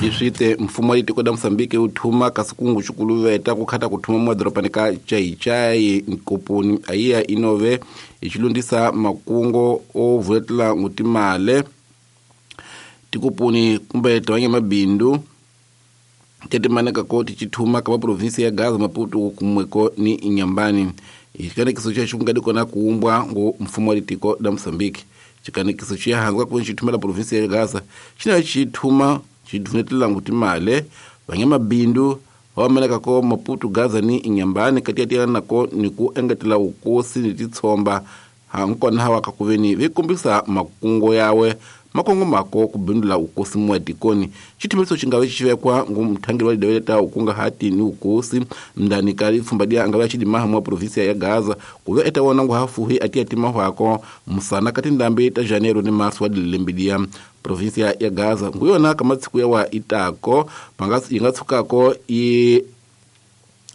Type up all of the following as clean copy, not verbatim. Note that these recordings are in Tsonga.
Iswite mfumo wa tiko la Mozambique wu thuma kasi kungu xikuluveta ku khata ku thuma madorobani ka Chaichai Nkoponi ayiya inove hi xilundisa makungo o vuletela ngutimale tikoponi kumbe tivanyamabindu tetimaneka ko tichithuma ka maprovinsi ya Gaza, Maputo kumweko ni Inhambane. Xikanekiso xexo ku nga kona kuumbwa ngo mfumo wa tiko la Mozambique. Xikanekiso xi handzaka ku xithumela provinsi ya Gaza xi na xithuma xi ngutimale vanyamabindu va maneka ko Maputo, Gaza ni Inhambane katiya nako ni ku engetela vukosi ni titshomba hankona hawa ka kuveni vi kombisa makungo yawe makongo mako ku bindula ukosi mwa tikoni. Xithimiso xi nga vi xi vekwa ngu mthangeli wa lidaweleta ukungahati ni ukosi mndani ka lipfumba dia anga va xidimaha mwa provinsia ya Gaza ku ve eta wona ngu hafuhi atiya timahwako musana ka tindambi ta Janeiro ni Marso wa dilembe dia provinsia ya Gaza ngu yona ka matsiku ya wa itako yi nga tshukako yi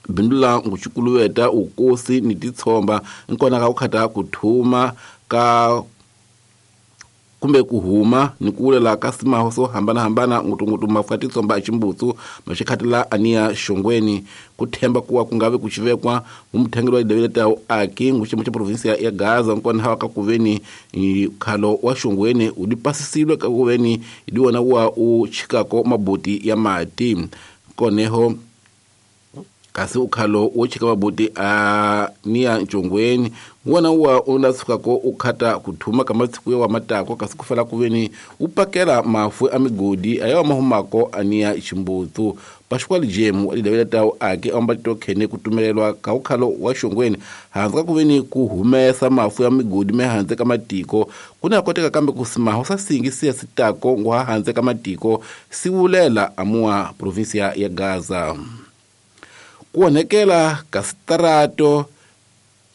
bindula nguxikuluweta ukosi ni titshomba nkona ka ku khata ku thuma ka kumbe ku huma ni ku wulela ka simaho swo hambanahambana ngutungutu mafu ya titsomba a ximbutsu maxikhatela aniya xongweni ku themba kuwa ku nga vi ku xivekwa ngumthangeli wa lidavele aki nguxiyimo xa provinsia ya Gaza nkona hawa ka kuveni khalo wa xongweni wu di pasisiwe ka kuveni hi di wona wa u chikako maboti ya mati koneho kasi ukhalo wo chika maboti a niya ntshongweni wona wa u la sukako u khata ku thuma ka matsiku ya wa matako kasi ku fela kuveni u pakela mafu a migodi a ya mahumako a niya ximbutsu Pascual Jemu lidavela tawo ake amba tokhene ku tumelelwa ka ukhalo wa xongweni handze ka kuveni ku humesa mafu ya migodi me handze ka matiko kuna koteka kambe ku simaho sa singi siya sitako ngwa handze ka matiko siwulela amuwa provinsia ya Gaza. Ku onhekela ka sitarato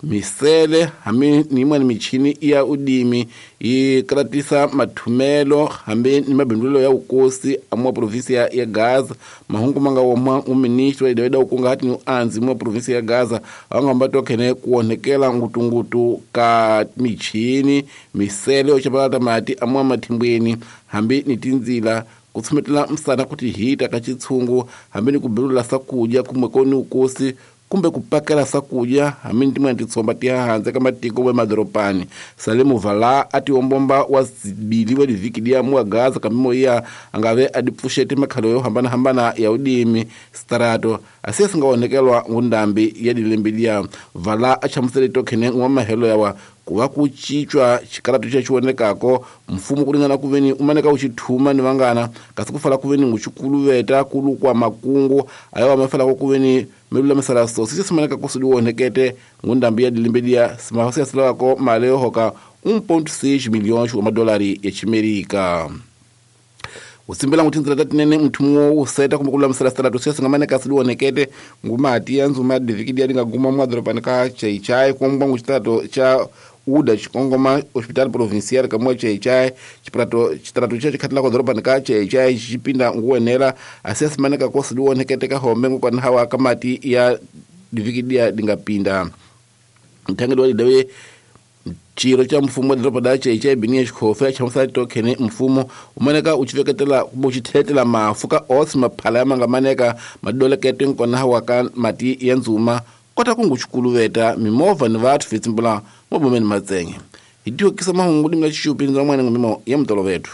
misele hambi ni yin'wana michini ya udimi yi karatisa mathumelo hambi ni mabindzulo ya vukosi amuwa provinsia ya Gaza. Mahungu ma nga woma uministri wa lidaweda ukungahati ni uanzi muwa provinsia ya Gaza angamba tokhene ku onhekela ngutungutu ka michini misele yo chapalata mati amuwa mathimbweni hambi ni tindzila ku tshumetela msana kuti hita ka chitshungu hambi ni ku bilula sakudya kumwe koni ukosi kumbe ku pakela sakudya hambi ni tin'wana titshomba ti handze ka matiko we madorobani. Salemu Vala a tiombomba wa zibili wa livhiki dia muwa Gaza kamimo iya angave a dipfuxete makhalo yo hambanahambana ya udimi starato asiya singa onekelwa ngundambi ya dilembe dia. Vala a chamusele tokhene n'wa mahelo yawa ku va ku cincwa xikarato xa xi vonekako mfumo ku ringana ku veni u maneka u xi thuma ni vangana kasi ku fala ku veni nguxikuluveta ku lukwa makungu a ya wa ma falako ku veni mi lulamisela sosi xi simaneka ku swi onhekete ngundambi ya dilembe dia simaho siya silawako mali yo hoka 1.6 milhões wa madolari ya Ximerika. U simbela ngu tindzela ta tinene mthumo wo seta kumbe ku lulamisela sitarato siya singamaneka swi onhekete ngumati ya ndzuma ya divikidi ya dinga guma mwadorobani ka Chaichai kumbwa ngu xitarato xa uda xikongoma hospital provincial ka mwa Chaichai xitarato xa xikhatlako dorobani ka Chaichai xipinda nguwenela asiya simaneka ko swi onhekete ka hombe ngukwana hawa ka mati ya divikidi ya dinga pinda. Mthangeli wa lidawe xirho xa mfumo wa doroba la Chaichai Binia Xikhofe chamusela tokhene mfumo u maneka u xi veketela kumbe u xi tlheletela mafu ka os maphala ya ma nga maneka madolekete nkona hawa ka mati ya ndzuma kota ku ngu xikuluveta mimovha ni vathu fitsimbula mabomeni matsenge. Hi tiokisa mahungu limla xixupi ndza n'wana ngumimo ya mutolovethu.